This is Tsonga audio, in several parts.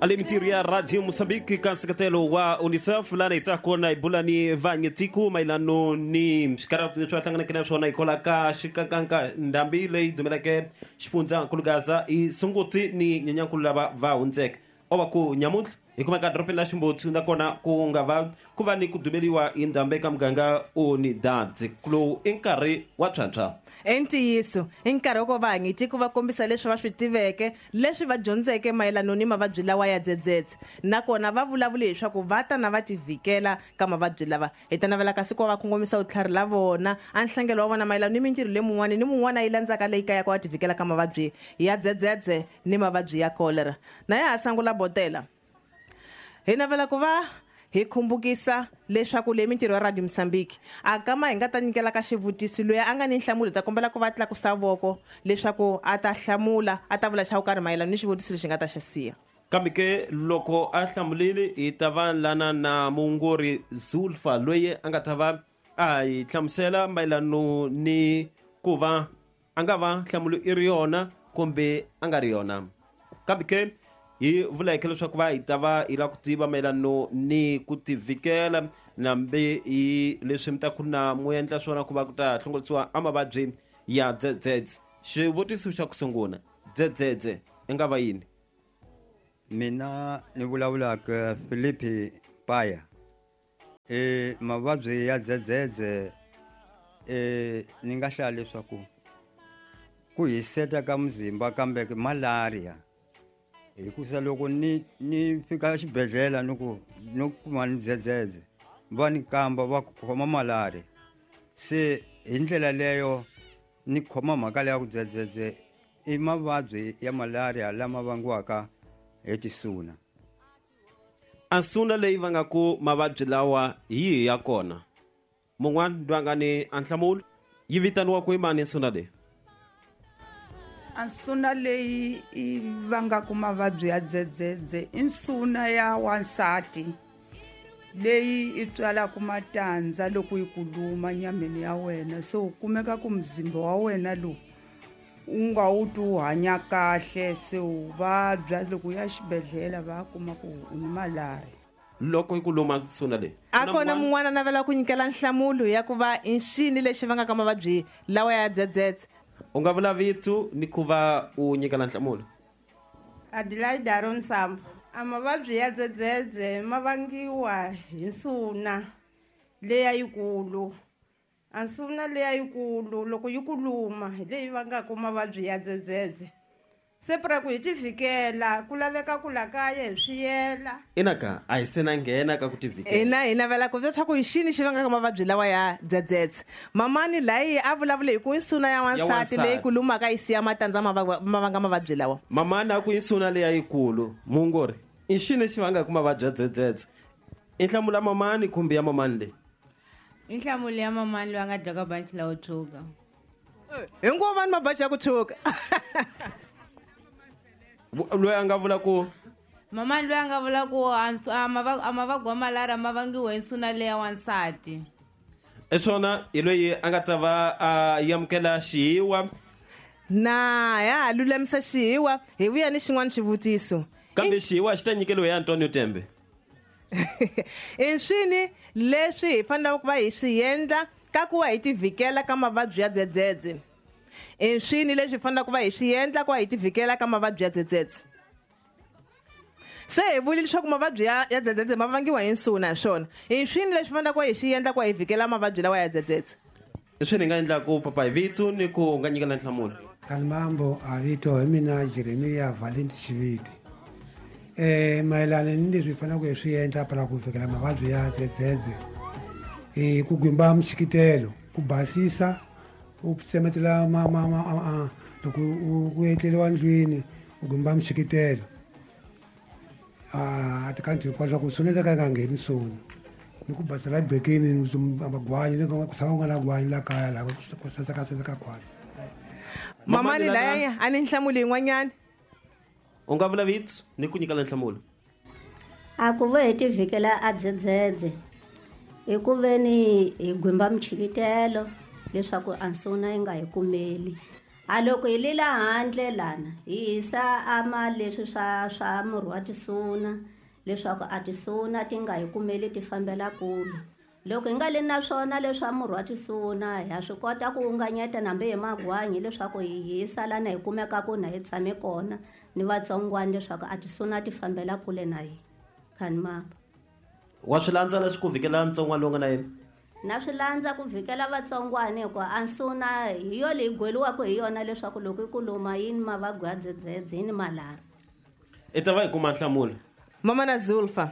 Ale mintirho ya Radio Mozambique ka nseketelo wa UNICEF lana hi ta kona hi bula ni vanyetiku mayelano ni swikarhato leswi va hlanganeke na swona hikola ka xikankanka ndhambi leyi dumeleke xifundzankulu Gaza i Sunguti ni Nyenyankulu lava va hundzeke o va ku nyamuntlha hi kumeka dorobeni la Ximbutsu nakona ku nga va ku va ni ku dumeliwa hi ndhambi eka muganga Unidad lowu i nkarhi wa tshwantshwa. I ntiyiso, i nkarhi wa ku va vahanyitiko va kombisa leswi va swi tiveke, leswi va dyondzeke mayelano ni mavabyi lawa ya dzedzedze. Nakona va vulavule hi swaku va ta na va tivhikela ka mavabyi lava. Hi ta navela kasi ku va va kongomisa vutlhari la vona a nhlangelo wa vona mayelano ni mintirho leyi mun'wana ni mun'wana a yi landzaka leyi kayaka va tivhikela ka mavabyi ya dzedzedze ni mavabyi ya kolera. Na ya ha sangula botela. Hi navela ku va hi khumbukisa leswaku leyi mintirho ya Radio Mozambique a kama hi nga ta nyikela ka xivutiso loyi a nga ni nhlamulo hi ta kombela ku va tlakusa voko leswaku a ta hlamula a ta vula xa ku karhi mayelana ni xivutiso lexi nga ta xi siya. Kambe ke loko a hlamulile hi ta va lana na muongori Zulfa loyi a nga ta va a hi hlamusela mayelano ni ku va a nga va nhlamulo i ri yona kumbe a nga ri yona. Kambe ke hi vuleke leswaku va hi ta va hi lava ku tiva mayelano ni ku tivhikela nambe hi leswi mi ta ku na mu endla swona ku va ku ta hlongorisiwa a mavabyi ya dzedzedze. Xivutiso xa ku sungula, dzedzedze i nga va yini? Mina ni vulavulaka Philippi Paya. E mavabyi ya dzedzedze e ni nga hlaya leswaku ku hiseta ka muzimba kambe malaria hikusa loko ni ni fika xibedhlele ni ku ni kuma ni dzedzedze va ni kamba va khoma malaria se hi ndlela leyo ni khoma mhaka leya ku dzedzedze i mavabyi ya malaria lama vangiwaka hi tisuna. A nsuna leyi vangaku mavabyi lawa hi yihi ya kona? Mun'wana loyi a nga ni a nhlamulo, yi vitaniwa ku i mani nsuna leyi? A nsuna leyi yi vangaku mavabyi ya dzedzedze i nsuna ya wansati leyi i tswalaku matandza loko yi ku luma nyameni ya wena, se u kumeka ku muzimba wa wena lowu u nga wu twi wu hanya kahle, se u vabya. Loko u ya xibedhlele va kuma ku u ni malaria. Loko yi ku luma nsuna leyi, A kona mun'wana a navela ku nyikela nhlamulo ya ku va i nxini lexi vangaka mavabyi lawa ya dzedzedze? U nga vula vito ni ku va u nyikela nhlamulo. Adelaide Aron Sambo. A mavabyi ya dzedzedze ma vangiwa hi nsuna leya yikulu. A nsuna leya yikulu loko yi ku luma hi leyi vangaka mavabyi ya dzedzedze. Se pra ku hi tivhikela ku laveka ku la kaya hi swiyela. Ina ka a hi se na nghena ka ku tivhikela. Ina hi navela ku leswaku i xini xi vangaka mavabyi lawa ya dzedzedze. Mamani layi a vulavule hi ku i nsuna ya wansati leyi ku lumaka yi siya matandza ma ma vanga mavabyi lawa. Mamani a ku i nsuna leya yikulu. Muongori, i xini xi vangaka mavabyi ya dzedzedze? I nhlamulo ya mamani kumbe ya mamani leyi? I nhlamulo ya mamani loyi a nga dloka banci lawo tshwuka. Hinkwavo va ni mabaji ya ku tshwuka. Loyi a nga vula ku Mamani loyi a nga vula ku a mavabyi wa malaria ma vangiwa hi nsuna leya wansati. I swona, hi loyi a nga ta va a amukela xihiwa. Na ya ha lulamisa xihiwa, hi vuya ni xin'wana xivutiso. Kambe xihiwa xi ta nyikeriwa hi Antonio Tembe. I swini leswi hi fanelaka ku va hi swi endla ka ku va hi tivhikela ka mavabyi ya dzedzedze? I swini leswi hi fanelaka ku va hi swi endla ku va hi tivhikela ka mavabyi ya dzedzedze? Se hi vule leswaku mavabyi ya, ya dzedzedze ma vangiwa hi nsuna, hi swona. I swini leswi fanelaka ku va hi swi endla ku va hi vhikela mavabyi lawa ya dzedzedze? I swini hi nga endlaku papa hi vito ni ku nga nyikela nhlamulo? Kalimambo a vito hi mina Jeremiya Valenti Xiviti. Mayelana ni leswi hi faneleke hi swi endla para ku fikela mavabyi ya dzedzedze, i ku gwimba mixikitelo, ku basisa, u tsemetela ma, ma, ma, a, a, loko u ku etleriwa ndlwini u gwimba mixikitelo. A tikanthu hinkwaswo ku suna ka yi nga ngheni suna ni ku basela gqekeni magwanyi ni ku tshama ku nga na gwanyi la kaya laha ku saseka saseka khwatsi. Mamani laya a ni nhlamulo yin'wanyana. U nga vula vito ni ku nyikela nhlamulo. A ku ve hi tivhikela a dzedzedze hi ku ve ni hi gwimba michikitelo leswaku a nsuna yi nga hi kumeli. A loko hi lela handle lana hi hisa ama leswi swa murhi wa tisuna leswaku a tisuna ti nga hi kumeli ti fambela kule. Loko hi nga li na swona leswa murhi wa tisuna ha swi kota ku unganyeta nambe hi magwanyi leswaku hi hisa lana hi kumeka ku na hi tshame kona ni vatsongwana leswaku a tisuna ti fambela kule na hina. Khani mapa. Wa swi landza leswi ku vhikela ntsongwana lowu nga na yena? Na swi landza ku vhikela vatsongwana hikuva a nsuna hi yo leyi gweliwaka hi yona leswaku loko yi ku luma yini mavabyi ya dzedzedze yini malari. I ta va hi kuma nhlamulo. Mama na Zulfa,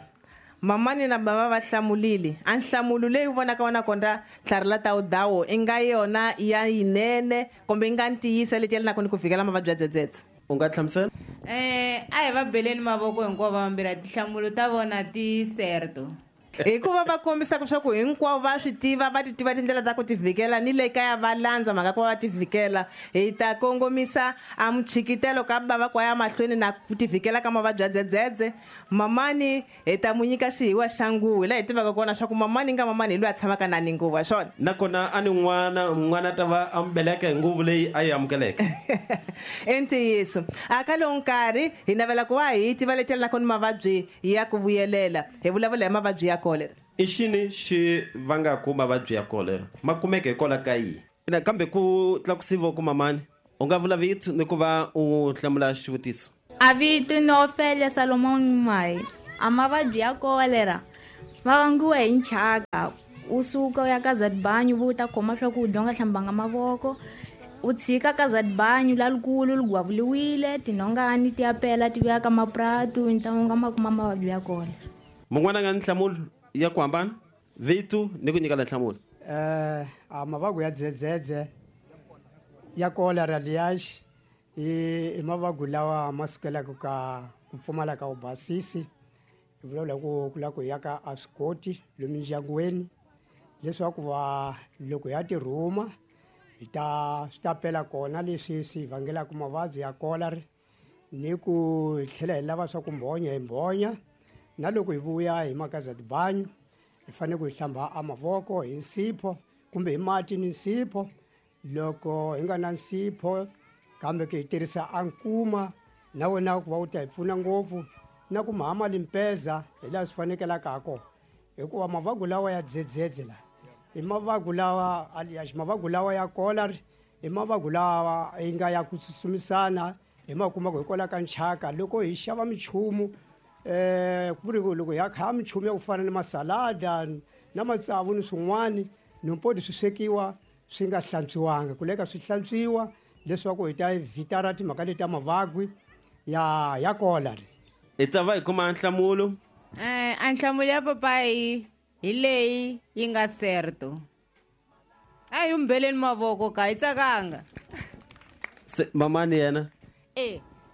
mamani na baba va hlamulile. A nhlamulo leyi u vonaka wona kondza tlhari la ta udawo i nga yona ya yinene kumbe i nga ntiyisa leti yelanaka ni ku vhikela mavabyi ya dzedzedze. U nga hlamusela? A hi va beleni mavoko hinkwavo vambirhi, tinhlamulo ta vona ti certo. Hikuva va kombisaka swa ku hinkwavo va swi tiva, va ti tiva tindlela ta ku ti vhikela ni le kaya va landza mhaka ku va va ti vhikela. Hi ta kongomisa a muchikitelo ka bava kwa ya mahlweni na ku ti vhikela ka mavabyi ya dzedzedze. Mamani hi ta mu nyika xihiwa xa nguvu, hi laha hi tivaka kona swa ku mamani nga mamani hi loyi a tshamaka na ni nguvu, swona. Nakona a ni n'wana ta va a beleka hi nguvu leyi a yi amukeleke. I ntiyiso. A ka lowu nkarhi hi navela ku va hi tiva leti yelanaka ni mavabyi ya ku vuyelela. Hi vulavula hi mavabyi ya kolera. I xini xi vangaku mavabyi ya kolera? Ma kumeka hikwalaho ka yini? Nakambe ku tlakusiwa ku mamani, u nga vula vito ni ku va u hlamula xivutiso. A vito ni Ophelia Salomon Mai. A mavabyi ya kolera ma vangiwa hi nchaka. U suka u ya ka Zadbanyu, u ta khoma swakudya u nga hlambanga mavoko. U tshika ka Zadbanyu la likulu li gwavuliwile, tinhongani ti ya pela ti vuya ka mapuratu, ni ta nga ma kuma mavabyi ya kolera. Mun'wana a nga ni nhlamulo ya ku hambana, vito ni ku nyika la nhlamulo. A mavabyi ya dzedzedze ya kolera liyaxi i mavabyi lawa ma sukelaka ka ku pfumala ka vubasisi. Hi vulavula ku la ku ya ka a swi koti lomu ndyangwini leswaku va loko ya tirhuma hi ta swi ta pela kona leswi swi vangelaka mavabyi ya kolera, ni ku hi tlhela hi lava swa ku mbhonya hi mbhonya. Na loko hi vuya hi maka Zadbanyu hi fanele ku hi hlamba a mavoko hi nsipho kumbe hi mati ni nsipho. Loko hi nga na nsipho kambe ke hi tirhisa a nkuma na wona ku va wu ta hi pfuna ngopfu, na ku mahama limpeza hi laha swi fanekelaka ha kona. Hikuva mavabyi lawa ya dzedzedze la i mavabyi lawa alias mavabyi lawa ya kolera, i mavabyi lawa yi nga ya ku tsutsumisana hi ma kuma ku hikwalaho ka nchaka. Loko hi xava minchumu, ku ri ku loko hi ya kha minchumu ya ku fana ni masalada na matsavu ni swin'wani, nimpodi swi swekiwa swi nga hlantswiwanga, ku leka swi hlantswiwa leswaku hi ta evitara timhaka leti ta mavabyi ya kolera. Hi ta va hi kuma nhlamulo. A nhlamulo ya papayi hi leyi yi nga certo. A hi humbeleni mavoko ka hi tsakanga. Se mamani yena?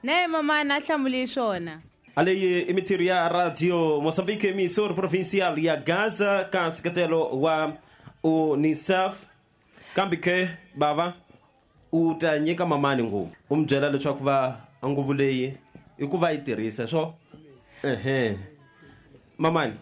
Na ye mamani a hlamuli swona. Aleyi i mintirho ya Radio Mozambique emissora provincial ya Gaza ka nseketelo wa UNICEF. Kambe ke bava u ta nyika mamani nguvu, u mi byela leswaku va nguvu leyi i ku va yi tirhisa swo. Mamani,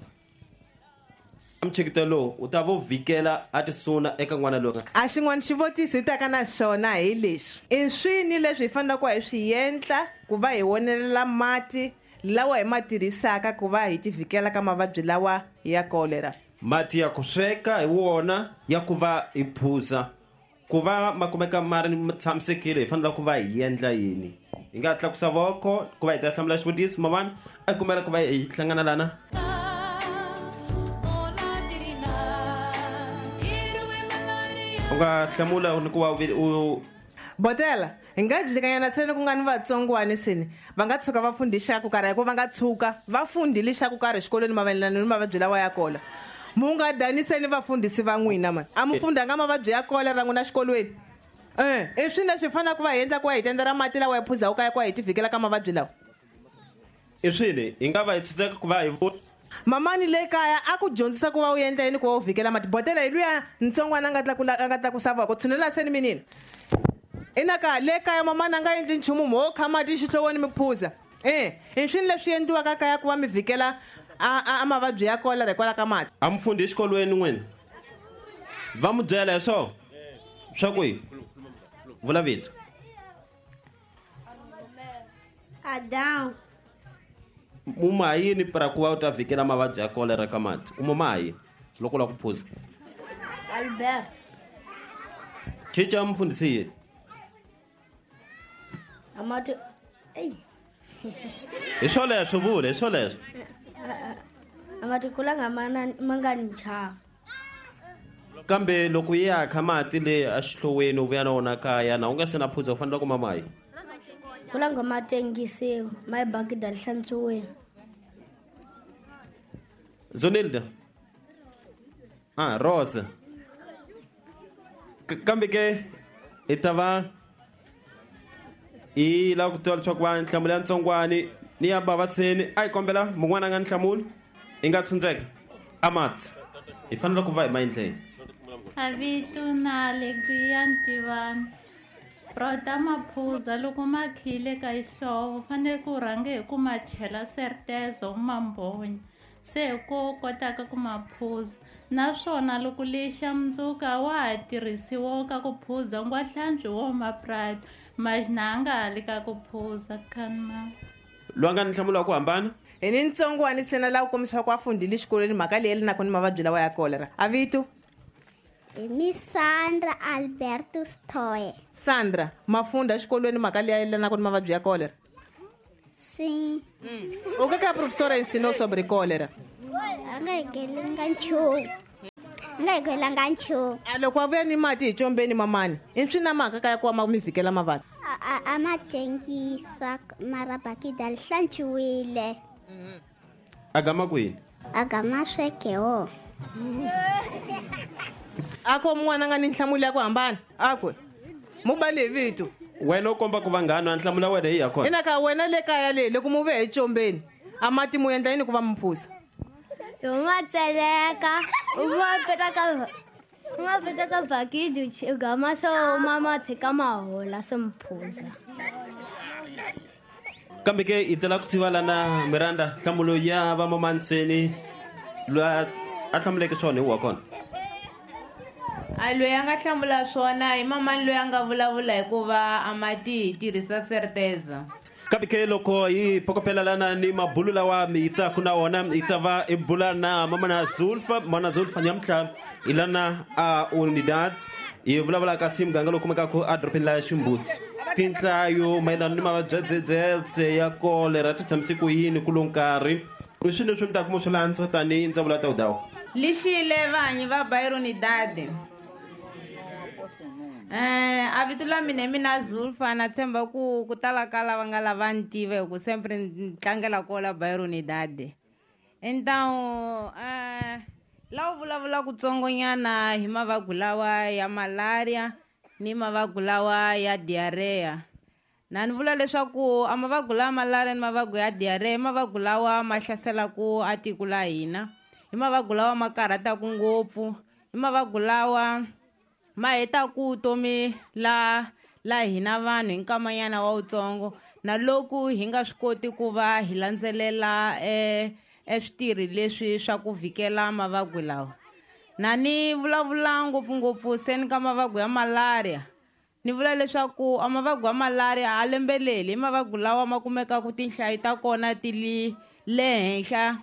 mchikito lowu u ta vo vhikela a tisuna eka n'wana loyi. A xin'wana xivutiso hi taka na xona hi lexi. I swini leswi hi faneleke ku hi swi endla ku va hi wonelela mati lawa hi ma tirhisaka ku va hi tivhikela ka mavabyi lawa ya kolera? Mati ya ku sweka hi wona ya ku va hi phuza, ku va ma kumeka ma ri tshamisekile, hi fanele ku va hi endla yini? Hi nga tlakusa voko ku va hi ta hlamula xivutiso. Mamani a kumela ku va hi hlangana lana. U nga hlamula ni ku va u Botela, hi nga jikanyana seni ku nga ni vatsongwana seni va nga tshuka va fundisa ku karhi, hikuva va nga tshuka va fundile xa ku karhi exikolweni mayelana ni mavabyi lawa ya kola. Mu nga daniseni vafundhisi va n'wina mani. A mu fundanga mavabyi ya kolera n'wina xikolweni? I swini leswi hi faneleke ku va hi endla ku va hi tendela mati lawa hi phuzaka kaya ku va hi tivhikela ka mavabyi lawa? I swini hi nga va hi tshunxeka ku va hi Mamani le kaya a ku dyondzisa ku va u endla yini ku va u vhikela mati? Botela hi luya ntsongwana a nga tlakula, a nga tlakusa voko. Tshunela seni minini. Ina ka le kaya mamani a nga endli nchumu, mo kha mati xihloveni mi phuza. I swini leswi endliwaka kaya ku va mi vhikela a mavabyi ya kolera hikwalaho ka mati? A mi fundi exikolweni n'wina? Va mi byela hi swona? Swa ku yi? Vula vito. Adão. Muma yini para ku va u ta vhikela mavabyi ya kolera ka mati? U muma yini loko u lava ku phuza? Alberto. Teacher mfundhisi yini? Amati. Ei. Hi swoleswo vule, hi swoleswo. Amati kulanga mana mangani nchava. Kambe loko yi ya kha mati le exihloweni u vuya na wona kaya na u nga se na phuza u fanele ku mama yini? Kulanga ma tengisiwa, ma bakida li hlantswiwile. Zonilda. Ah, Rosa. Kambe ke hi ta va hi lava ku tiva leswaku va nhlamulo ya ntsongwani ni ya bavaseni a hi kombela mun'wana a nga nhlamulo hi nga tshundzeka amati hi fanele ku va hi maendleni. Avito na Alegria Ntivani. Prota maphuza loko ma khile ka xihlovo fanele ku rhange hi ku ma chela sertezo u ma mbhonya se ko kotaka ku ma phuza naswona loko lexa mundzuka wa ha tirhisiwa ka ku phuza ngwahlantswi wo maprato majina a nga ha li ka ku phuza khanma. Loyi a nga ni nhlamulo ya ku hambana? Hi ni ntsongwani sena laha ku kombisaka ku a fundhile xikolweni mhaka leyi yelanaka ni mavabyi lawa ya kolera. A vito? Mi Sandra Alberto Stoe. Sandra, mafunda xikolweni mhaka leyi yelanaka ni mavabyi ya kolera? Sim. O que que a professora ensinou sobre cólera? A nga hekelanga nchumu. A nga hekelanga nchumu. A loko a vuya ni mati hi combeni mamani, i swi na mhaka kaya ku ma mi vhikela mavabyi? A ma tengisa mara bakida li hlantswiwile. A gama kwini? A gama sweke wo. A ko mun'wana a nga ni nhlamulo ya ku hambana? A ku mu bale hi vito. Wena u komba ku vanghana a nhlamulo ya wena hi ya kona. Ina ka wena le kaya le loko mu ve hi combeni a mati mu endla yini ku va mu phuza? Hi ma tseleka, u ma peta ka u ma peta ka bakidi u gama se u ma ma tshika ma hola se mu phuza. Kambe ke hi tela ku tiva lana Miranda nhlamulo ya va mamanseni loyi a hlamuleke swona hi wa kona. A loyi a nga hlamula swona hi mamani loyi a nga vulavula hikuva a mati hi tirhisa serteza. Kambe ke loko hi phokopela lana ni mabulu lawa mi ta ku na wona hi ta va hi bula na mamana Zulfa, mana Zulfa nyamutlha hi lana a Unidad hi vulavula ka si muganga lowu kumekaka edorobeni la Ximbutsu. Tinhlayo mayelana ni mavabyi ya dzedzedze ya kolera ti tshamise ku yini ku lo nkarhi i swilo leswi mi ta kuma swi landza tanihi ndzawulo ya ta vudawu. Lixile vanyi va bairro Unidad. A vito la mina hi mina Zulfa na tshemba ku ku tala ka lava nga lava ni tiva hi ku sempre ni tlangela kola bairro Unidad. Então la u vulavula kutsongonyana hi mavabyi lawa ya malaria ni mavabyi lawa ya diarrhea. Na ni vula leswaku a mavabyi lawa malaria ni mavabyi ya diarrhea i mavabyi lawa ma hlaselaku a tiko la hina. I mavabyi lawa ma karhataka ngopfu, i mavabyi lawa ma hetaku vutomi la hina vanhu hi nkamanyana wa wutsongo na loko hi nga swi koti ku va hi landzelela switirhi leswi swa ku vhikela mavabyi lawa. Na ni vulavula ngopfungopfu se ni ka mavabyi ya malaria. Ni vula leswaku a mavabyi ya malaria a lembeleli i mavabyi lawa ma kumekaku tinhlayo ta kona ti li le henhla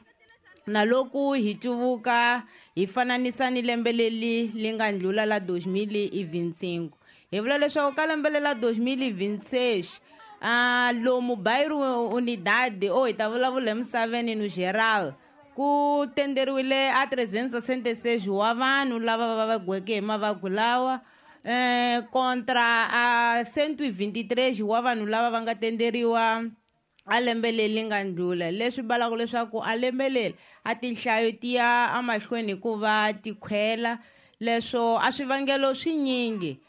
na loko hi cuvuka hi fananisa ni lembe leri li nga ndlula la 2025. Hi vula leswaku ka lembe lela 2026 lomu bairro Unidad o hi ta vulavula emisaveni no geral ku tenderiwile a 366 wa vanhu lava va vabyeke hi mavabyi lawa kontra a 123 wa vanhu lava va nga tenderiwa a lembe leri nga ndlula, leswi balaka leswaku a lembe leri a tinhlayo ti ya emahlweni hikuva ti khwela. Leswo a swivangelo swinyingi.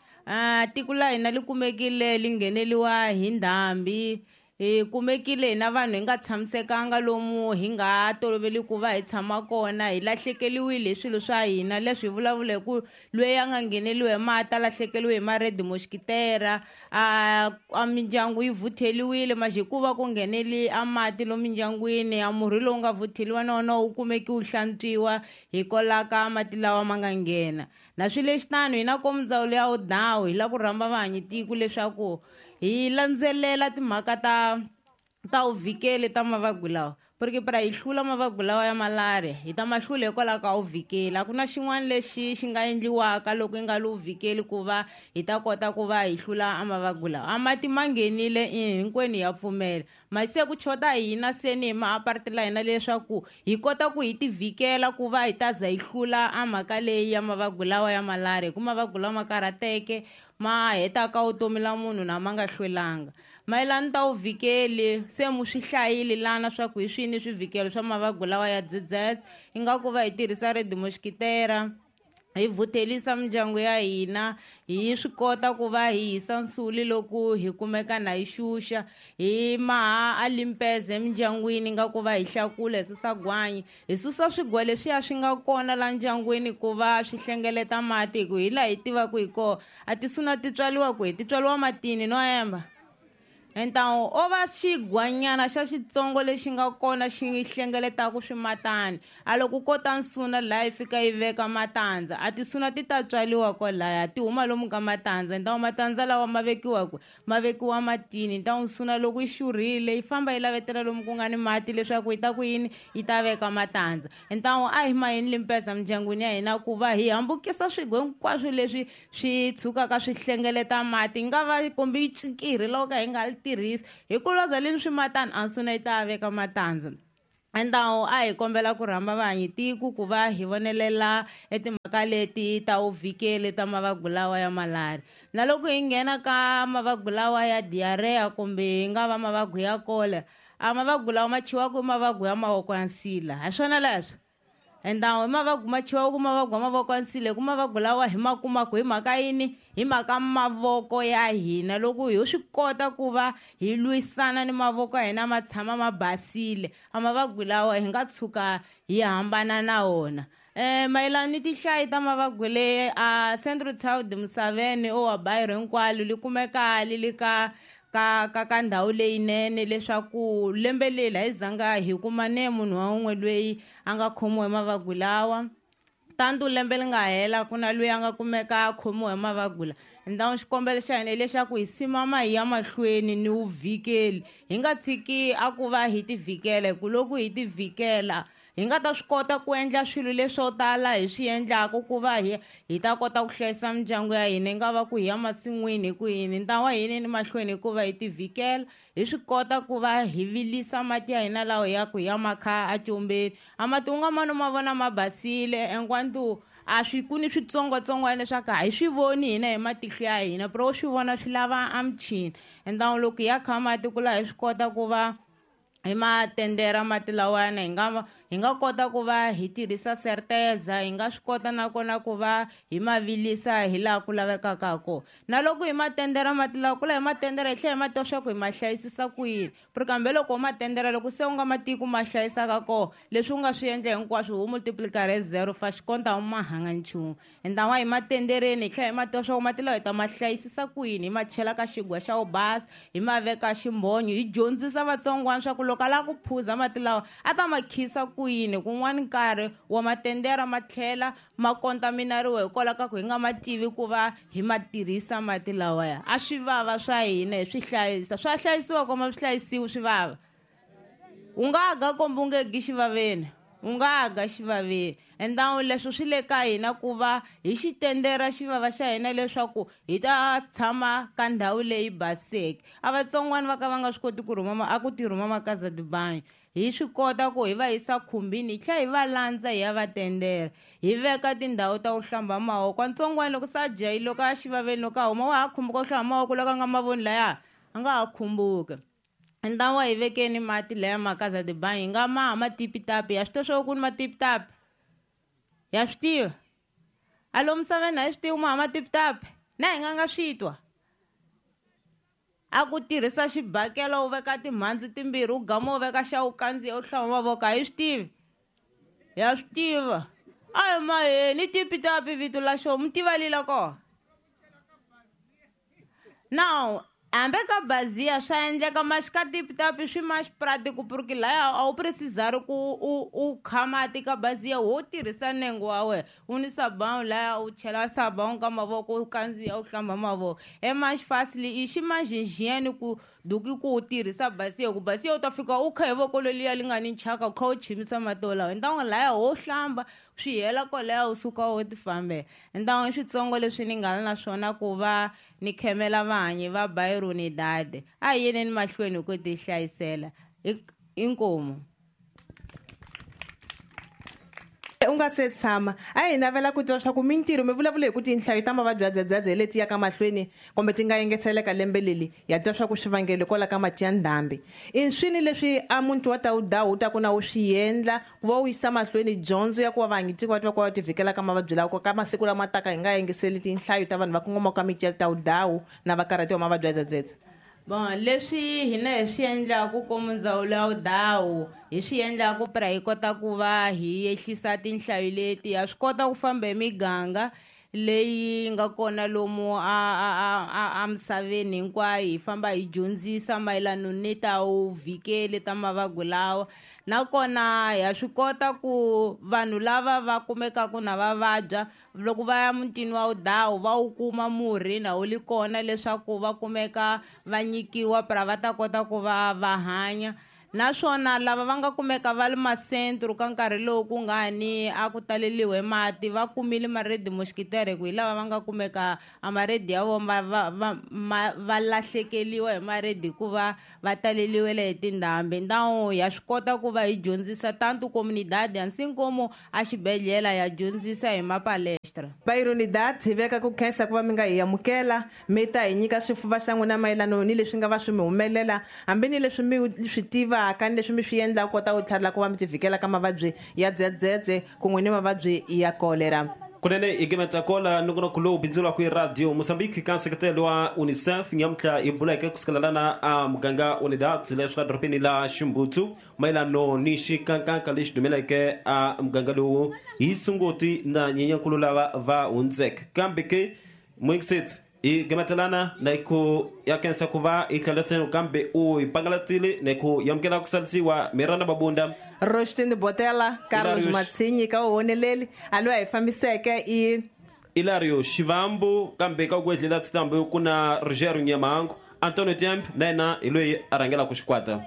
Tiko la hina li kumekile li ngheneliwa hi ndhambi, hi kumekile hina vanhu hi nga tshamisekanga lomu hi nga toloveli ku va hi tshama kona, hi lahlekeliwile hi swilo swa hina. Leswi hi vulavula hi ku loyi a nga ngheneliwi hi mati a lahlekeliwe hi ma-red mosquitera, a mindyangu yi vhutheliwile manje hikuva ku ngheneli a mati lomu mindyangwini, a murhi lowu nga vhutheliwa na wona wu kumeki wu hlantswiwa hikwalaho ka mati lawa ma nga nghena. Na swilo leswi tano hina komu ndzawulo ya Odawu hi lava ku rhamba vahanyi tiko leswaku hi landzelela timhaka ta Ta uvhikeli ta mavabyi lawa, porque para hi hlula mavabyi lawa ya malaria hi ta ma hlula hikwalaho ka uvhikeli. A ku na xin'wana lexi xi nga endliwaka loko yi nga li uvhikeli ku va hi ta kota ku va hi hlula a mavabyi lawa. A mati ma nghenile hinkwenu ya pfumela, masi ku chota hina seni hi maaparti la hina leswaku hi kota ku hi tivhikela ku va hi ta za hi hlula a mhaka leyi ya mavabyi lawa ya malaria, hi ku mavabyi lawa ma karhateke ma hetaka vutomi la munhu na ma nga hlwelanga. Mayelana ta uvhikeli se mu swi hlayile lana swa ku hi swini swivhikelo swa mavabyi lawa ya dzedzedze, ingaku va hi tirhisa red mosquitera, hi vhuthelisa mindyangu ya hina, hi swi kota ku va hi hisa nsuli loko hi kumeka na hi xuxa, hi maha a limpeze emindyangwini nga ku va hi hlakula, hi susa gwanyi, hi susa swigwa leswiya swi nga kona la ndyangwini ku va swi hlengeleta mati, hi ku hi laha hi tivaka hi kona a ti suna ti tswaliwa kwihi, ti tswaliwa matini no emba. Então o va xigwanyana xa xitsongo lexi nga kona xi hlengeletaka swimatani, a loko kota nsuna laha yi fika yi veka matandza, a tisuna ti ta tswaliwa kwalaya ti huma lomu ka matandza. Então matandza lawa ma vekiwa kwi, ma vekiwa matini. Então nsuna loko yi xurhile yi famba yi lavetela lomu ku nga ni mati leswaku yi ta ku yini, yi ta veka matandza. Então a hi maheni limpeza mindyangwini ya hina ku va hi hambukisa swigwe hinkwaswo leswi swi tshukaka swi hlengeleta mati, yi nga va kumbe yi cikirhi loko ka hi nga li tirhisi, hi ku loza leni swimatani a nsuna yi ta veka matandza. Então a hi kombela ku rhamba vahanyi tiko ku va hi vonelela etimhaka leti ta uvhikeli ta mavabyi lawa ya malaria. Na loko hi nghena ka mavabyi lawa ya diarrhea kumbe hi nga va mavabyi ya cholera, a mavabyi lawa ma chiwaka i mavabyi ya mavoko ya nsila, hi swona leswo. Então i mavabyi ma chiwaka ku mavabyi ya mavoko ya nsila, hi ku mavabyi lawa hi ma kumaka hi mhaka yini, hi mhaka mavoko ya hina. Loko hi swi kota ku va hi lwisana ni mavoko ya hina ma tshama ma basile, a mavabyi lawa hi nga tshuka hi hambana na wona. Mayelana ni tinhlayo ta mavabyi leyi a Central South Musaveni o wa Bayero hinkwalo li kumeka li li ka ka ka ka ndhawu leyinene, leswaku lembe leri a hi zanga hi kuma ne munhu wa un'we loyi a nga khomiwa hi mavabyi lawa. Tantu lembe li nga hela ku na loyi a nga kumeka a khomiwa hi mavabyi lawa. Então xikombelo xa hina hileswaku hi simama hi ya mahlweni ni vuvhikeli, hi nga tshiki a ku va hi tivhikela, hi ku loko hi tivhikela hi nga ta swi kota ku endla swilo leswo tala hi swi endlaka ku va hi ta kota ku hlayisa mindyangu ya hina, yi nga va ku hi ya masin'wini hi ku yini. Ntlawa wa hina ni mahlweni hikuva hi tivhikela, hi swi kota ku va hi vilisa mati ya hina lawa ya ku ya makha a combeni. A mati u nga mani ma vona ma basile, enquanto a swi ku ni switsongwatsongwana leswaku a hi swi voni hina hi matihlo ya hina, pero u swi vona swi lava a michini. Então loko hi ya kha mati ku laha hi swi kota ku va hi matendera mati lawani, hi nga kota ku va hi tirhisa certeza, hi nga swi kota nakona ku va hi ma vilisa hi laha ku lavekaka ha kona. Na loko hi matendera mati lawa ku la hi matendera hi tlhela hi ma tiva swa ku hi ma hlayisisa ku yini, pero kambe loko u matendera loko se u nga ma tivi ku ma hlayisaka kona, leswi u nga swi endla hinkwaswo u multiplicare hi 0 fa xikonta u ma hanga nchumu. Ntlawa wa hi matendereni hi tlhela hi ma tiva swa ku mati lawa hi ta ma hlayisisa ku yini, hi ma chela ka xigwa xa wu basa, hi ma veka ximbonyo, hi dyondzisa vatsongwana swa ku loko a lava ku phuza mati lawa a ta ma khisa ku yini. Kun'wani nkarhi wa matendera ma tlhela ma kontaminariwa hikwalaho ka ku hi nga ma tivi ku va hi ma tirhisa mati lawaya. A swi vava swa hina hi swi hlayisa, swa hlayisiwa koma swi hlayisiwi swi vava. U nga ga komba u nge gi xivaveni, u nga ga xivaveni. Então leswo swi le ka hina ku va hi xi tendera xivava xa hina leswaku hi ta tshama ka ndhawu leyi baseke. A vatsongwana va ka va nga swi koti ku rhuma a ku ti rhuma makaza dibanyo, hi swi kota ku hi va yisa khumbini, hi tlhela hi va landza hi ya va tendera, hi veka tindhawu ta ku hlamba mavoko. Ntsongwana loko se a jahile loko a xivaveni loko a huma wa ha khumbuka ku hlamba mavoko loko a nga mavoni laya a nga ha khumbuki. Ntlawa wa hi vekeni mati laya makaza dibanyo, hi nga maha matipitapi. Ya swi tiva swa ku ni matipitapi? Ya swi tiva? A lomu misaveni a hi swi tivi maha matipitapi? Na hi nga nga swi twa? A ku tirhisa xibakela u veka timhandzi timbirhi u gama u veka xa u kandziya u hlamba mavoko, a hi swi tivi? Ya swi tiva. A hi maheni tipitapi vito la xo mi tiva lila kona. Now Hambi ka baziya swa endleka maxika tipitapi swi ma xipratiko porque laya a wu precisari ku u kha mati ka baziya, wo tirhisa nengo wa wena u ni sabão laya u chela sabão ka mavoko u kandziya u hlamba mavoko. É mais fácil i xi mais higiênico do que ku u tirhisa baziya, ku baziya u ta fika u kha hi voko leliya li nga ni chaka u kha u chimisa mati wolawo. Então laya wo hlamba swi hela kwalaya u suka u ti fambela. Então i switsongo leswi ni nga na swona ku va ni khemela vahanyi va bairro Unidade. A hi yeneni mahlweni ku ti hlayisela inkomu. U nga se tshama a hi navela ku tiva swa ku mintirho mi vulavula hi ku tinhlayo ta mavabyi ya dzedzedze leti yaka mahlweni kumbe ti nga yengeseleka lembe leli, ya twa swa ku swivangelo kwala ka mati ya ndhambi. I swini leswi a muntu wa ta wu ta ku na wu swi endla ku va wu yisa mahlweni dyondzo ya ku va vahanyitiko va twa ku va ti vhikela ka mavabyi lawa ka masiku lama taka hi nga yengeseli tinhlayo ta vanhu va kongomaka ka miti ya tawudawu na va karhatiwa mavabyi ya dzedzedze? Bon, leswi hina hi swi endlaku komu ndzawulo ya vudawu hi swi endlaku pra hi kota ku va hi yehlisa tinhlayo leti, ha swi kota ku famba hi miganga leyi nga kona lomu a misaveni hinkwayo, hi famba hi dyondzisa mayelana ni ta vuvhikeli ta mavabyi lawa. Nakona ha swi kota ku vanhu lava va kumekaka na va vabya loko va ya mutini wa vudawu va wu kuma murhi na wu li kona leswaku va kumeka va nyikiwa pra va ta kota ku va va hanya. Naswona lava va nga kumeka va li masentro ka nkarhi lowu ku nga ni a ku taleliwe mati va kumile maredi mosquitere, ku hi lava va nga kumeka a maredi ya vona va lahlekeliwa hi maredi hikuva va taleliwele hi tindhambi. Então ya swi kota ku va hi dyondzisa tanto comunidade assim como a xibedhlele ya dyondzisa hi mapalestra. Bairro Unidade hi veka ku khensa ku va mi nga hi amukela mi ta hi nyika swifuva xa n'wina mayelana ni leswi nga va swi mi humelela hambi ni leswi mi swi tiva ka leswi mi swi endla kota ku tlharila ku va mi ti vhikela ka mavabyi ya dzedzedze kun'we ni mavabyi ya kolera. Kunene hi gemetsa kola nongonoko lowu bindzuriwaka hi Radio Mozambique ka nseketelo wa UNICEF nyamuntlha hi buleke kusukela lana a muganga Unidade leswi ka dorobeni la Ximbutsu mayelano ni xikankanka lexi dumeleke a muganga lowu hi Sunguti na Nyenyankulu lava va hundzeke. Kambe ke muyingiseti hi gemetelana na ku ya khensa ku va hi tlheliseni kambe u hi pangalatile na ku yamukela ku salisiwa Miranda Mabunda, Rostin Botela, Carlos Matsinyi ka vuhoneleli a loyi a hi fambiseke i Ilario Xivambu, kambe ka ku endlela titambu ku na Rogério Nyamango, Antonio Temp na yena hi loyi a rhangelaka xikwata.